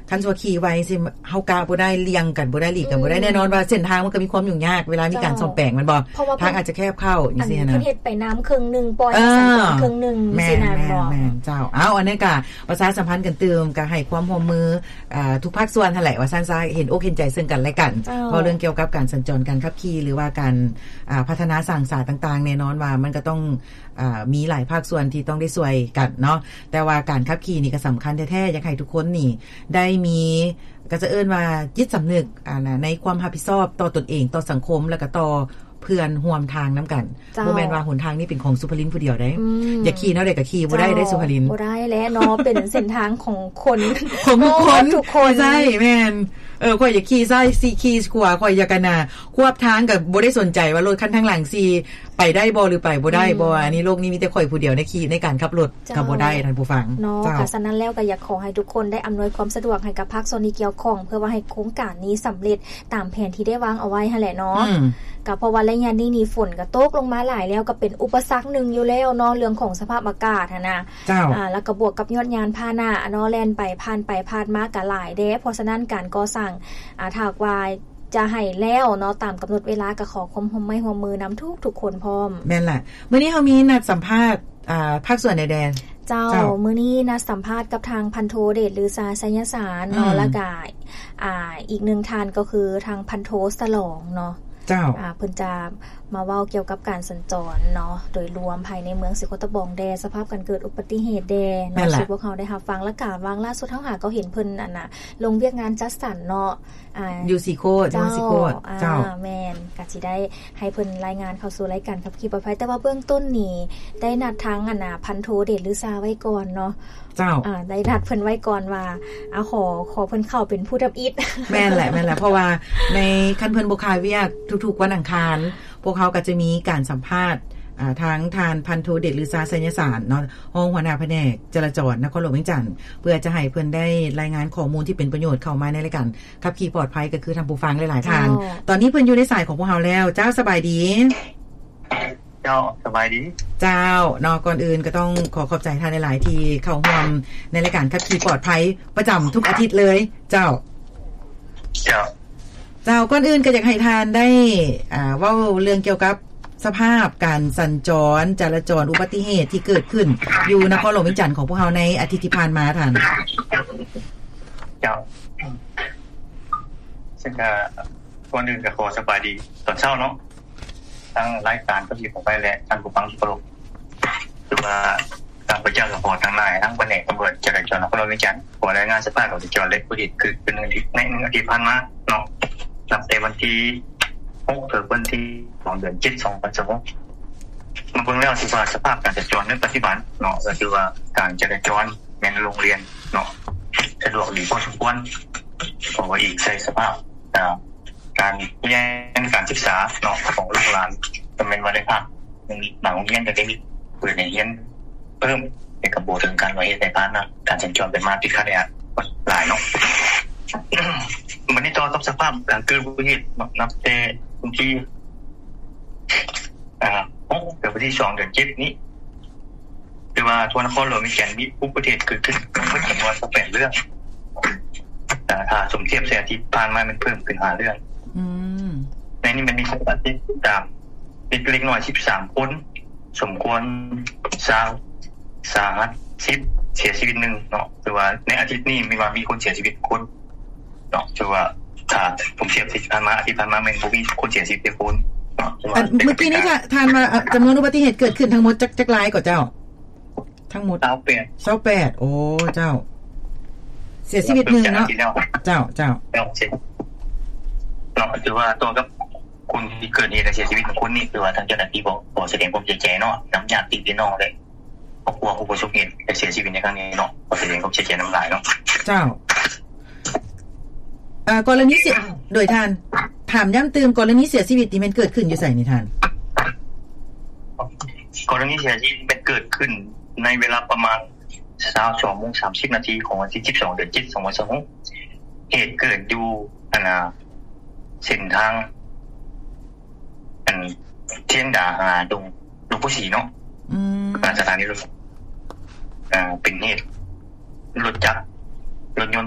ຄັນຊິວ່າຂີ່ໄວຊິ ເຮົາກະບໍ່ໄດ້ ລ່ຽງກັນບໍ່ໄດ້ ຫຼີກກັນບໍ່ໄດ້ ອືມ ແນ່ນອນວ່າເສັ້ນທາງມັນກໍມີຄວາມຫຍຸ້ງຍາກ ເວລາມີການ ເຈົ້າ ສ້ອມແປງແມ່ນບໍ່? ເພາະວ່າທາງອາດຈະແຄບເຂົ້າ ອັນ ຈັ່ງຊີ້ຫັ້ນນະ ເພິ່ນເຮັດໄປນ້ຳເຄິ່ງໜຶ່ງ ປ່ອຍ ເອີ ໃສ່ເຄິ່ງໜຶ່ງ ແມ່ນ ຊີ້ນະ ແມ່ນບໍ່? ແມ່ນ ເຈົ້າ. ເອົາ ອັນນີ້ກະປະຊາສຳພັນກັນຕື່ມ ກະໃຫ້ຄວາມຮ່ວມມື ອ່າ ທຸກພາກສ່ວນຫັ້ນແຫຼະ ວ່າຊັ້ນຊະ ເຫັນອົກເຫັນໃຈເຊິ່ງກັນແລະກັນ ເຈົ້າ ເວົ້າເລື່ອງກ່ຽວກັບການສັນຈອນການຂັບຂີ່ ຫຼືວ່າການ ອ່າ ພັດທະນາສ້າງສາຕ່າງໆ ແນ່ນອນວ່າມັນກໍຕ້ອງ ອ່າ ມີຫຼາຍພາກສ່ວນທີ່ຕ້ອງໄດ້ຊ່ວຍກັນເນາະ ແຕ່ວ່າການຂັບຂີ່ນີ້ກໍສຳຄັນແທ້ໆ ຢາກໃຫ້ທຸກຄົນນີ້ໄດ້ມີ ກໍຈະເອີ້ນວ່າຈິດສຳນຶກ ອ່າ ໃນຄວາມຮັບຜິດຊອບຕໍ່ຕົນເອງ ຕໍ່ສັງຄົມ ແລ້ວກໍຕໍ່ເພື່ອນຮ່ວມທາງນຳກັນ ເຈົ້າ ບໍ່ແມ່ນວ່າຫົນທາງນີ້ເປັນຂອງສຸພະລິນຜູ້ດຽວໃດ ອືມ ຢາກຂີ່ແນວໃດກໍຂີ່ ບໍ່ໄດ້ເດ້ ເຈົ້າ ສຸພະລິນ ບໍ່ໄດ້ແຫຼະເນາະ ເປັນເສັ້ນທາງຂອງຄົນ ຂອງທຸກຄົນ ທຸກຄົນ ໃຊ່ ແມ່ນ ເອີ ຂ້ອຍຢາກຂີ່ຊ້າຍ ຊິຂີ່ຂວາ ຂ້ອຍຢາກ ອັນນ່າ ຄວບທາງກໍບໍ່ໄດ້ສົນໃຈວ່າລົດຄັນທາງຫຼັງຊິໄປໄດ້ບໍ່ ຫຼືໄປບໍ່ໄດ້ ອືມ ບໍ່ ອັນນີ້ໂລກນີ້ມີແຕ່ຂ້ອຍຜູ້ດຽວໃນຂີ່ ໃນການຂັບລົດ ເຈົ້າ ກໍບໍ່ໄດ້ ທ່ານຜູ້ຟັງເນາະ. ເຈົ້າ ກໍສະນັ້ນແລ້ວກໍຢາກຂໍໃຫ້ທຸກຄົນໄດ້ອຳນວຍຄວາມສະດວກໃຫ້ກັບພາກສ່ວນທີ່ກ່ຽວຂ້ອງ ເພື່ອວ່າໃຫ້ໂຄງການນີ້ສຳເລັດຕາມແຜນທີ່ໄດ້ວາງເອົາໄວ້ຫັ້ນແຫຼະເນາະ. ອືມ ກໍເພາະວ່າໄລຍະນີ້ນີ້ຝົນກໍຕົກລົງມາຫຼາຍແລ້ວ ກໍເປັນອຸປະສັກໜຶ່ງຢູ່ແລ້ວເນາະ ເລື່ອງຂອງສະພາບອາກາດຫັ້ນນະ. ເຈົ້າ ອ່າ ແລ້ວກໍບວກກັບຍອດຍານພາຫະນະເນາະ ແລ່ນໄປ ຜ່ານໄປຜ່ານມາກໍຫຼາຍແດ່ ເພາະສະນັ້ນການກໍ່ສ້າງ ອ່າ ຖ້າຫາກວ່າ ຈະໃຫ້ແລ້ວເນາະ ຕາມກຳນົດເວລາ ກໍຂໍຄວາມຮ່ວມໄມ້ຮ່ວມມືນຳທຸກໆຄົນພ້ອມ. ແມ່ນລະ ມື້ນີ້ເຮົາມີນັດສຳພາດ ອ່າ ພາກສ່ວນໃດແດ່? ເຈົ້າ ເຈົ້າ ມື້ນີ້ນັດສຳພາດກັບທາງພັນໂທເດດລືຊາ ໄຊຍະສານເນາະ ອືມ ແລ້ວກະ ອ່າ ອີກໜຶ່ງທ່ານກໍຄືທາງພັນໂທສະຫຼອງເນາະ. ເຈົ້າ ອ່າ ເພິ່ນຈະມາເວົ້າກ່ຽວກັບການສັນຈອນເນາະ ໂດຍລວມພາຍໃນເມືອງສີໂຄດຕະບອງແດ່ ສະພາບການເກີດອຸບັດຕິເຫດແດ່ເນາະ ແມ່ນລະ ທີ່ພວກເຮົາໄດ້ຮັບຟັງ ແລ້ວກະຫວ່າງລ່າສຸດເຮົາຫາກໍເຫັນເພິ່ນ ອັນນ່າ ລົງວຽກງານຈັດສັນເນາະ ອ່າ ຢູ່ສີໂຄດ ເຈົ້າ ຢູ່ສີໂຄດ ອ່າ ເຈົ້າ ແມ່ນ ກະຊິໄດ້ໃຫ້ເພິ່ນລາຍງານເຂົ້າສູ່ລາຍການຂັບຂີ່ປອດໄພ ແຕ່ວ່າເບື້ອງຕົ້ນນີ້ໄດ້ນັດທາງ ອັນນ່າ ພັນໂທເດດລືຊາໄວ້ກ່ອນເນາະ. ເຈົ້າ ອ່າ ໄດ້ນັດເພິ່ນໄວ້ກ່ອນວ່າ ອ່າ ຂໍ ຂໍເພິ່ນເຂົ້າເປັນຜູ້ທຳອິດ. ແມ່ນແຫຼະ ແມ່ນແຫຼະ ເພາະວ່າໃນ ຄັນເພິ່ນບໍ່ຄາວຽກ ທຸກໆວັນອັງຄານ ພວກເຮົາກໍຈະມີການສຳພາດ ອ່າ ທາງທ່ານພັນໂທເດດລືຊາ ໄຊຍະສານເນາະ ຮອງຫົວໜ້າພະແນກຈະລາຈອນນະຄອນຫຼວງວຽງຈັນ ເພື່ອຈະໃຫ້ເພິ່ນໄດ້ລາຍງານຂໍ້ມູນທີ່ເປັນປະໂຫຍດເຂົ້າມາໃນລາຍການຂັບຂີ່ປອດໄພ ກໍຄືທ່ານຜູ້ຟັງຫຼາຍໆທ່ານ. ເຈົ້າ ຕອນນີ້ເພິ່ນຢູ່ໃນສາຍຂອງພວກເຮົາແລ້ວ. ເຈົ້າ ສະບາຍດີ. ເຈົ້າ ສະບາຍດີ. ເຈົ້າ ເນາະ ກ່ອນອື່ນກໍຕ້ອງຂໍຂອບໃຈທ່ານຫຼາຍໆ ທີ່ເຂົ້າຮ່ວມໃນລາຍການຂັບຂີ່ປອດໄພປະຈຳທຸກອາທິດເລີຍ. ເຈົ້າ ເຈົ້າ ເຈົ້າ ກ່ອນອື່ນກໍຢາກໃຫ້ທ່ານໄດ້ ອ່າ ເວົ້າເລື່ອງກ່ຽວກັບສະພາບການສັນຈອນ ຈະລາຈອນ ອຸບັດຕິເຫດທີ່ເກີດຂຶ້ນຢູ່ນະຄອນຫຼວງວຽງຈັນຂອງພວກເຮົາໃນອາທິດທີ່ຜ່ານມາທ່ານ. ເຈົ້າ ເຊິ່ງກໍ ກ່ອນອື່ນກໍຂໍສະບາຍດີຕອນເຊົ້າເນາະ ທັງລາຍການກໍດີຂອງໄປ ແລະ ທ່ານຜູ້ຟັງທີ່ເຄົາລົບ ຄືວ່າຂ້າພະເຈົ້າກໍຂໍທັງຫຼາຍ ທັງພະແນກຕຳຫຼວດຈະລາຈອນນະຄອນຫຼວງວຽງຈັນ ຂໍລາຍງານສະພາບການຈະລາຈອນ ແລະ ອຸບັດຕິເຫດເກີດຂຶ້ນໃນໜຶ່ງອາທິດຜ່ານມາເນາະ ນັບແຕ່ວັນທີຫົກ ເຖິງວັນທີສອງ ເດືອນເຈັດ ສອງພັນຊາວຫົກ ມາເບິ່ງແລ້ວ ຖືວ່າສະພາບການຈະລາຈອນໃນປັດຈຸບັນເນາະ ກໍຖືວ່າການຈະລາຈອນແມ່ນໂລ່ງລ່ຽນເນາະ ສະດວກດີພໍສົມຄວນ ເພາະວ່າອີງໃສ່ສະພາບ ອ່າ ການຮຽນການສຶກສາເນາະ ຂອງລູກຫຼານ ກໍແມ່ນວ່າໄດ້ພັກ ບາງໂຮງຮຽນກໍໄດ້ມີເປີດໃຫ້ຮຽນເພີ່ມ ແຕ່ກໍບໍ່ເຖິງຂັ້ນວ່າເຮັດໃຫ້ພາຫະນະການສັນຈອນໄປມາຕິດຂັດແອອັດຫຼາຍເນາະ. ບັດນີ້ຕໍ່ກັບສະພາບການເກີດອຸບັດຕິເຫດເນາະ ນັບແຕ່ວັນທີ ອ່າ ຫົກ ເຖິງວັນທີສອງ ເດືອນເຈັດນີ້ ຖືວ່າທົ່ວນະຄອນຫຼວງວຽງຈັນມີອຸບັດຕິເຫດເກີດຂຶ້ນທັງໝົດຈຳນວນຊາວແປດເລື່ອງ ແຕ່ຖ້າສົມທຽບໃສ່ອາທິດຜ່ານມາແມ່ນເພີ່ມຂຶ້ນຫ້າເລື່ອງ. ອືມ ໃນນີ້ແມ່ນມີຜູ້ບາດເຈັບສາມ ເດັກເລັກນ້ອຍສິບສາມຄົນ, ສົມຄວນຊາວ, ສາຫັດສິບ, ເສຍຊີວິດໜຶ່ງເນາະ. ຖືວ່າໃນອາທິດນີ້ແມ່ນວ່າມີຄົນເສຍຊີວິດຄົນ ເນາະ ຖືວ່າຖ້າສົມທຽບທີ່ຜ່ານມາ ອາທິດຜ່ານມາແມ່ນບໍ່ມີຄົນເສຍຊີວິດຈັກຄົນເນາະ. ອັນເມື່ອກີ້ນີ້ ທ່ານ ທ່ານວ່າ ເອີ ຈຳນວນອຸບັດຕິເຫດເກີດຂຶ້ນທັງໝົດຈັກ ຈັກລາຍກໍເຈົ້າ? ທັງໝົດ ຊາວແປດ ຊາວແປດ ໂອ້ ເຈົ້າ ເສຍຊີວິດໜຶ່ງເນາະ. ເຈົ້າ ເຈົ້າ ເນາະ ຖືວ່າຕໍ່ກັບຄົນທີ່ເກີດເຫດ ແລະ ເສຍຊີວິດໜຶ່ງຄົນນີ້ ຖືວ່າທາງເຈົ້າໜ້າທີ່ກໍຂໍສະແດງຄວາມເສຍໃຈເນາະ ນຳຍາດຕິພີ່ນ້ອງ ແລະ ຄອບຄົວຜູ້ປະສົບເຫດ ແລະ ເສຍຊີວິດໃນຄັ້ງນີ້ເນາະ ຂໍສະແດງຄວາມເສຍໃຈນຳຫຼາຍເນາະ. ເຈົ້າ ເອີ ກໍລະນີເສຍ ໂດຍທ່ານ ຖາມຢ້ຳຕື່ມ ກໍລະນີເສຍຊີວິດນີ້ແມ່ນເກີດຂຶ້ນຢູ່ໃສນີ້ທ່ານ? ກໍລະນີເສຍຊີວິດແມ່ນເກີດຂຶ້ນໃນເວລາປະມານຊາວສອງໂມງສາມສິບນາທີຂອງວັນທີສິບສອງ ເດືອນເຈັດ ສອງພັນຊາວຫົກ ເຫດເກີດຢູ່ ອັນນ່າ ເສັ້ນທາງ ອັນ ທຽງດາຫາດົງ ດົງໂພສີເນາະ. ອືມ ຜ່ານສະຖານີລົດ ອ່າ ເປັນເຫດລົດຈັກ ລົດຍົນ